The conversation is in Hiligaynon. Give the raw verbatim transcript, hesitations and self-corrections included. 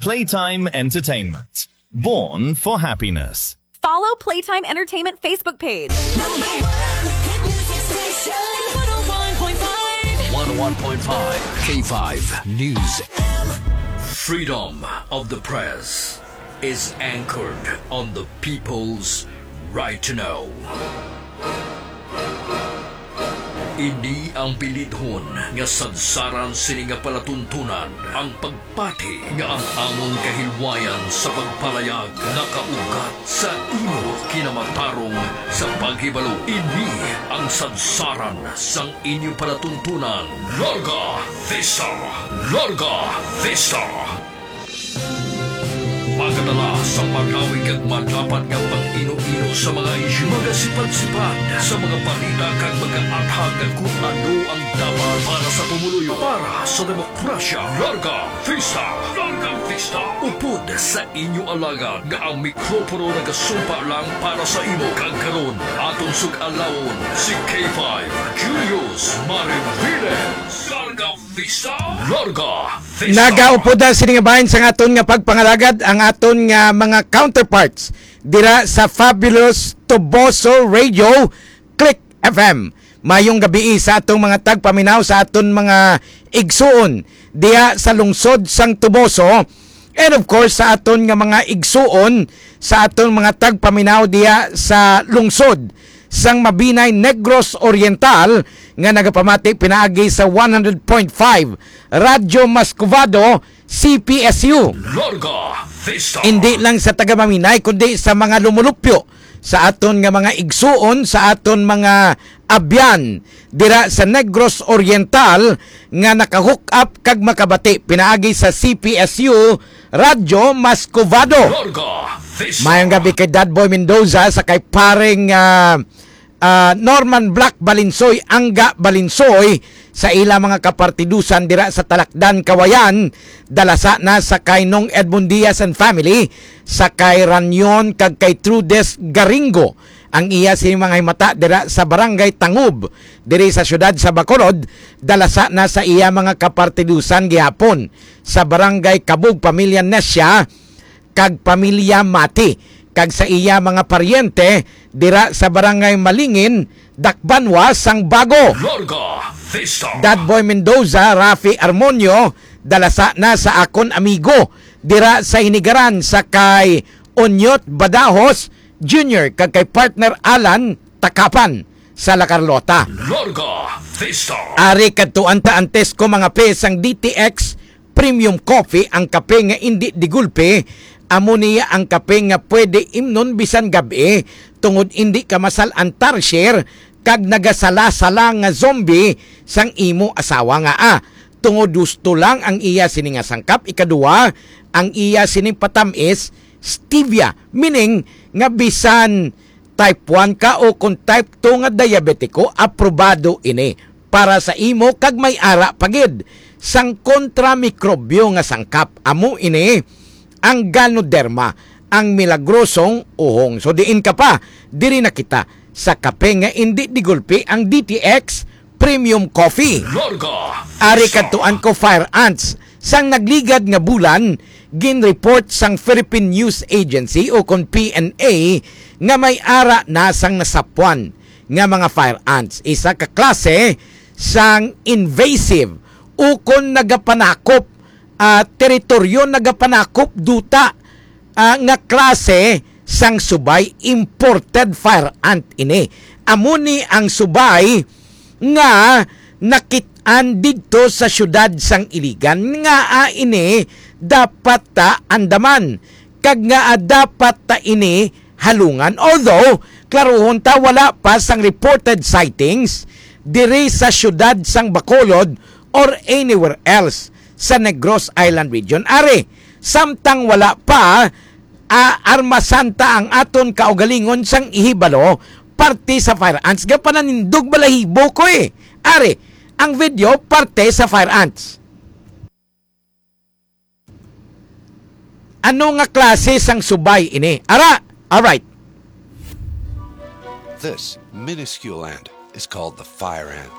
Playtime Entertainment. Born for happiness. Follow Playtime Entertainment Facebook page. Number one hit music station. one oh one point five. one oh one point five K five News. Freedom of the press is anchored on the people's right to know. Ini ang bilidhon nga sadsaran sini nga palatuntunan, ang pagpati nga ang amon kahilwayan sa pagpalayag nakaugat sa imo kinamatarong sa paghibalo. Ini ang sadsaran sang inyo palatuntunan, Larga Vista! Larga Vista! Magadala sa malawi kag madapat nga pag-ino-ino sa mga isyu, magasipad-sipad sa mga balita kag magaathag kon ano ang dapat para sa pumuluyo, para sa demokrasya. Larga Vista! Larga Vista! Upod sa inyo alagad nga ang mikropono nagasumpa lang para sa imo, kag karon aton sug-alawon si K five Julius Mariviles. Larga Vista! Larga Vista! Nagaupod na sini nga bahin sang aton nga pagpangalagad ang aton nga mga counterparts dira sa Fabulous Toboso Radio, Click F M. Mayong gabii sa atong mga tagpaminaw, sa aton mga igsuon diha sa lungsod sang Toboso, and of course sa aton nga mga igsuon, sa aton mga tagpaminaw diha sa lungsod sang Mabinay, Negros Oriental, nga nagapamati pinaagi sa one hundred point five Radyo Mascovado, C P S U. Larga Vista. Indi lang sa taga Mabinay, kundi sa mga lumulupyo sa aton nga mga igsuon, sa aton mga abyan dira sa Negros Oriental nga naka-hook up kag makabati pinaagi sa C P S U Radyo Mascovado. Larga Vista. Mayong gabi kay Dad Boy Mendoza, sa kay paring, ah, ah, Norman Black Balinsoy, Angga Balinsoy, sa ila mga kapartidusan dira sa Talakdan, Kawayan, dalasa na sa kay Nong Edmond Diaz and family, sa kay Ranyon kag kay Trudes Garingo, ang iya sini mga himata dira sa Barangay Tangub, diri sa siyudad sa Bacolod, dalasa na sa iya mga kapartidusan gihapon sa Barangay Kabug, pamilya Nesia kag pamilya Mati, kag sa iya mga paryente dira sa Barangay Malingin, Dakbanwa sang Bago. Larga Vista. Dad Boy Mendoza, Rafi Armonio, dalasa na sa akon amigo dira sa Hinigaran, sa kay Onyot Badajos Junior kag kay partner Alan Takapan sa La Carlota. Larga Vista. Ari kadtuan ta antes ko mga pe sang D T X Premium Coffee, ang kape nga indi digulpi. Amo niya ang kape nga pwede imnon bisan gab-i, tungod indi ka masal-an tarsier kag nagasala-sala nga zombie sang imo asawa nga, ah, tungod husto lang ang iya sini nga sangkap. Ikaduha, ang iya sining patam-is, stevia, meaning nga bisan type one ka o kon type two nga diabetiko, aprobado ini para sa imo kag may ara pa gid sang kontramikrobyo nga sangkap. Amo ini ang Ganoderma, ang milagrosong uhong. So diin ka pa, diri na kita sa kape nga indi digulpi, ang D T X Premium Coffee. Larga Ari Vista. Kadtuan ko, fire ants. Sang nagligad nga bulan, ginreport sang Philippine News Agency o kon P N A nga may ara na sang nasapwan nga mga fire ants, isa ka klase sang invasive o kon nagapanakop, ah, teritoryo, nagapanakop duta, ah, nga klase sang subay. Imported fire ant ini. Amo ni ang subay nga nakit-an didto sa siyudad sang Iligan. Ngaa ini dapat ta andaman, kag ngaa dapat ta ini halungan? Although, klaruhon ta, wala pa sang reported sightings diri sa siyudad sang Bacolod or anywhere else sa Negros Island Region. Ari, samtang wala pa, ah, armasan ta ang aton kaugalingon sang ihibalo parte sa fire ants. Gapananindog balahibo ko, eh. Ari, ang video parte sa fire ants. Ano nga klase sang subay ini? Ara, alright. This minuscule ant is called the fire ant.